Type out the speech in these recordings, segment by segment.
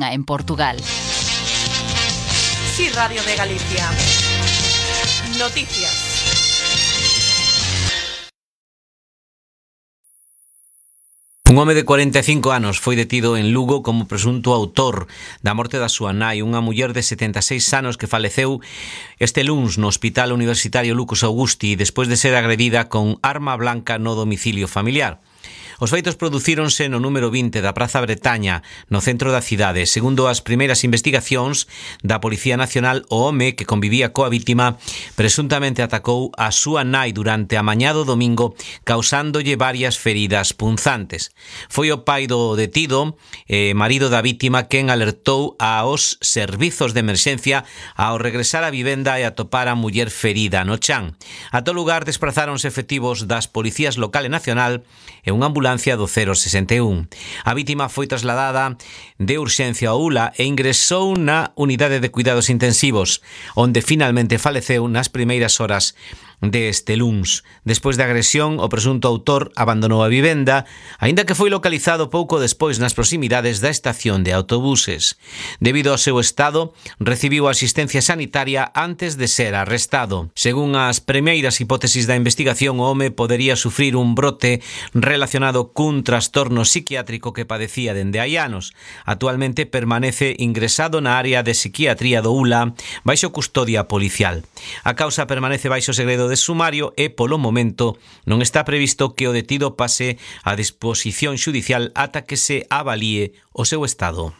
unha en Portugal. Sí, Radio de Galicia. Noticias. Un home de 45 anos foi detido en Lugo como presunto autor da morte da súa nai, unha muller de 76 anos que faleceu este luns no Hospital Universitario Lucas Augusti despois de ser agredida con arma blanca no domicilio familiar. Os feitos producíronse no número 20 da Praza Bretaña, no centro da cidade. Segundo as primeiras investigacións da Policía Nacional, o home que convivía coa vítima presuntamente atacou a súa nai durante a mañá do domingo, causándolle varias feridas punzantes. Foi o pai do detido, marido da vítima, quen alertou aos servizos de emerxencia ao regresar á vivenda e atopar a muller ferida no chan. A todo lugar desprazáronse efectivos das Policías Local e Nacional e unha ambulancia do 061. A vítima foi trasladada de urxencia ao ULA e ingresou na unidade de cuidados intensivos, onde finalmente faleceu nas primeiras horas deste luns. Despois da agresión, o presunto autor abandonou a vivenda, aínda que foi localizado pouco despois nas proximidades da estación de autobuses. Debido ao seu estado, recibiu asistencia sanitaria antes de ser arrestado. Según as primeiras hipótesis da investigación, o home podería sufrir un brote relacionado cun trastorno psiquiátrico que padecía dende hai anos. Actualmente permanece ingresado na área de psiquiatría do ULA baixo custodia policial. A causa permanece baixo segredo de sumario e, polo momento, non está previsto que o detido pase a disposición xudicial ata que se avalíe o seu estado.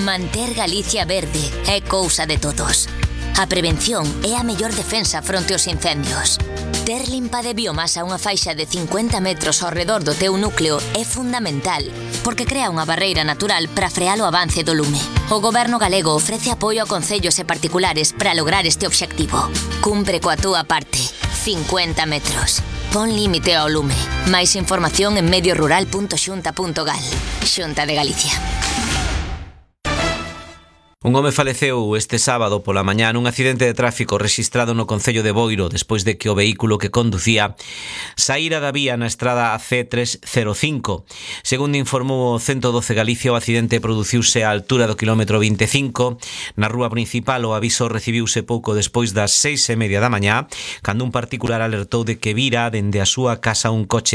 Manter Galicia verde é cousa de todos. A prevención é a mellor defensa fronte aos incendios. Ter limpa de biomasa unha faixa de 50 metros ao redor do teu núcleo é fundamental, porque crea unha barreira natural para frear o avance do lume. O Goberno galego ofrece apoio a concellos e particulares para lograr este obxectivo. Cumpre coa túa parte. 50 metros. Pon límite ao lume. Máis información en mediorural.xunta.gal. Xunta de Galicia. Un home faleceu este sábado pola mañá nun accidente de tráfico rexistrado no concello de Boiro despois de que o vehículo que conducía saíra da vía na estrada C305. Segundo informou o 112 Galicia, o accidente produciuse á altura do quilómetro 25. Na rúa principal o aviso recibiuse pouco despois das 6:30 da mañá, cando un particular alertou de que vira dende a súa casa un coche